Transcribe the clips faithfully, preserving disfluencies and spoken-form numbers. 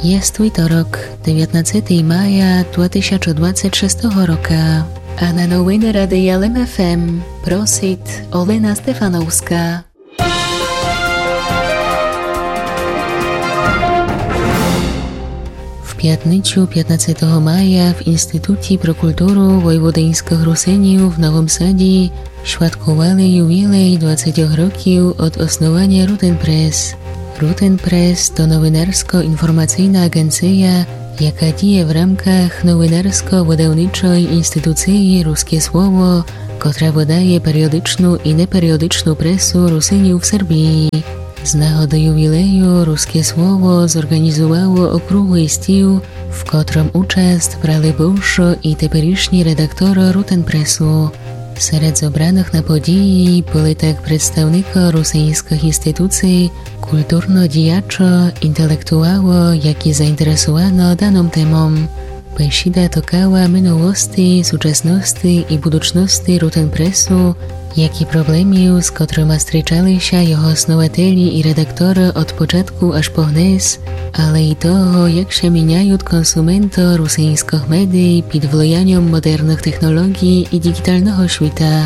Єст вівторок, девятнадцятого мая дві тисячі двадцять шестого рока. А на новины Радия Лем ФМ просит Олена Стефановска. В пятницю, пятнадцятого мая, в Институті про културу войводиньскых Русинів в Новым Саді святкували ювілей двадцятьох років од основаня Рутенпрес. Рутенпрес то новинарско-информацийна аґенция, яка діє в рамках новинарско-выдавничой институциі Руске слово, котра выдає періодичну і неперіодичну пресу Русинів в Сербії. З нагоды ювілею Руске слово зорґанізувало округлый стіл, в котром участ брали бывшо і теперішні редакторо Рутенпресу. Серед зобраных на події были так представникы русиньскых институций, културно діячо, интелектуало, які заінтересувано даном темом. Бесіда токала минулости, сучасности і будучности Рутенпресу, як і проблемів, з котрыма стрічали ся його основателі і редакторы од початку аж по гнес, але і того, як ся міняют консументы русиньскых медій під влияньом модерных технолоґій і діґіталного світа.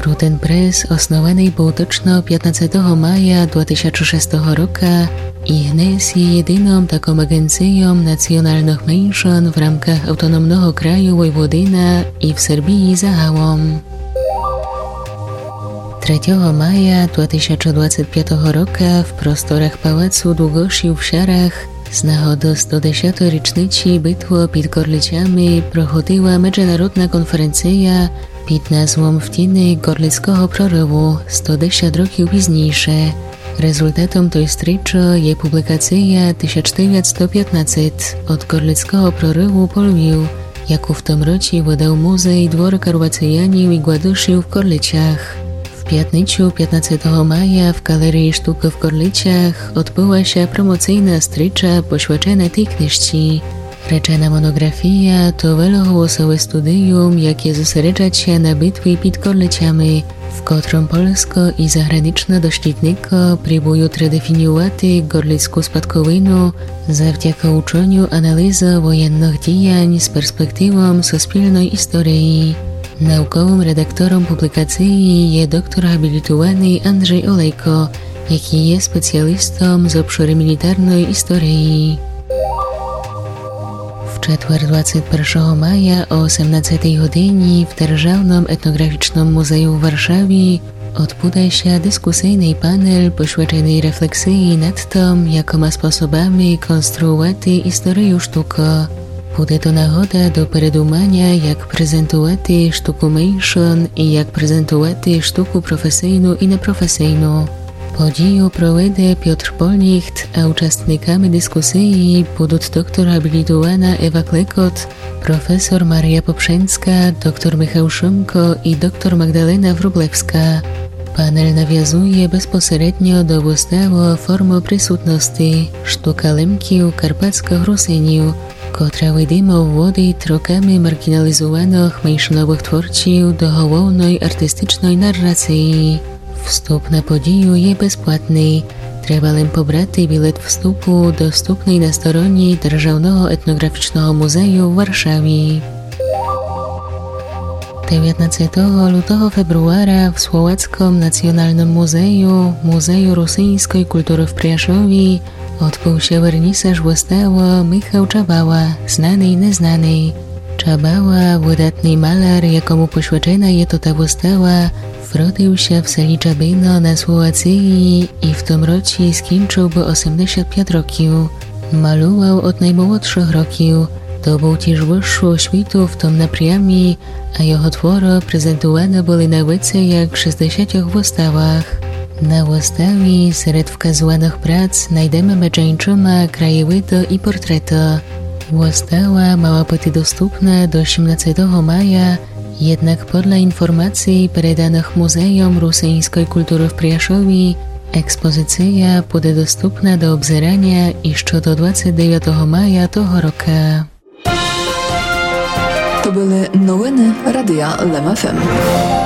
Рутенпрес основаный быв точно пятнадцятого мая дві тисячі шестого рока і гнес є єдином таком аґенцийом націоналных меншын в рамках автономного краю Войводина і в Сербії загалом. Третього мая дві тисячі двадцять пятого рока в просторах Палацу Дуґошів в Шарах з нагоды сто десятой річничі битвы під Корлицями проходила меджинародна конференция під назвом «В тіни Корлицького прориву сто десять років пізнійше». Резултатом той стрічы є публікация тисяч девятсто пятнадцять «Од Корлицького прориву по Львів», яку в том році выдав музей Двор Карвацеянів і Ґладышів в Корлицях. В пятницю, пятнадцятого мая, в Галереї штукы в Корлицях одбыла ся промоцийна стріча, посвячена тій книжці. Речена моноґрафія то велоголосове студіум, яке зосереджать ся на битві під Корлицями, в котром польско і загранично дослідникы прібуют редефініювати ґорлицьку спадковину завдяка учоню анализы воєнных діянь з перспективом суспільной історії. Науковым редактором публікациі є доктор гаабілітуваный Анджей Олейко, якій є спеціалістом з обшоры мілітарной історії. В четвер, двадцять першого мая, о осемнадцятій годині в Державном етноґрафічном музею в Варшаві одбуде ся дискусийный панель, посвяченый рефлексиі над тым, якыма способами конструювати історию штукы. Буде то нагода до передуманя, як презентувати штуку меншын і як презентувати штуку професийну і непрофесийну. Подію проведе Пьотр Полніхт, а участниками дискусиі будут доктор гаабілітувана Ева Клекот, професор Марія Попшенска, доктор Михал Шымко і доктор Магдалена Врублевска. Панель навязує безпосередньо до выставы «Формы присутности. Штука Лемків, карпатскых Русинів», котра видимо вводить роками марґіналізуваных меншыновых творців до головной артистичной нарациї. Вступ на подію є безплатный. Треба лем побрати білет вступу, доступный на стороні Державного етноґрафічного музею в Варшаві. Девятнадцятого лютого, фебруара в Словацком націоналном музею, Музею русиньской културы в Пряшові, одбыв ся вернісаж выставы «Михал Чабала. Знаный, незнаный». Чабала, выдатный маляр, якому посвячена є тота выстава, вродив ся в селі Чабино на Словациі і в том році скінчыв бы осемдесят пять років. Малював од наймолодшых років, добыв тіж высшу освіту в том напрямі, а його творы презентуваны были на веце як шестдесятьох выставах. На выставі серед вказуваных прац найдеме меджи иншыма краєвиды і портреты. Выстава мала быти доступна до сімнадцятого мая, єднак подля інформациі, переданых Музейом русиньской културы в Пряшові, експозиция буде доступна до обзераня іщы до двадцять девятого мая того рока. То были новины Радия Лем ФМ.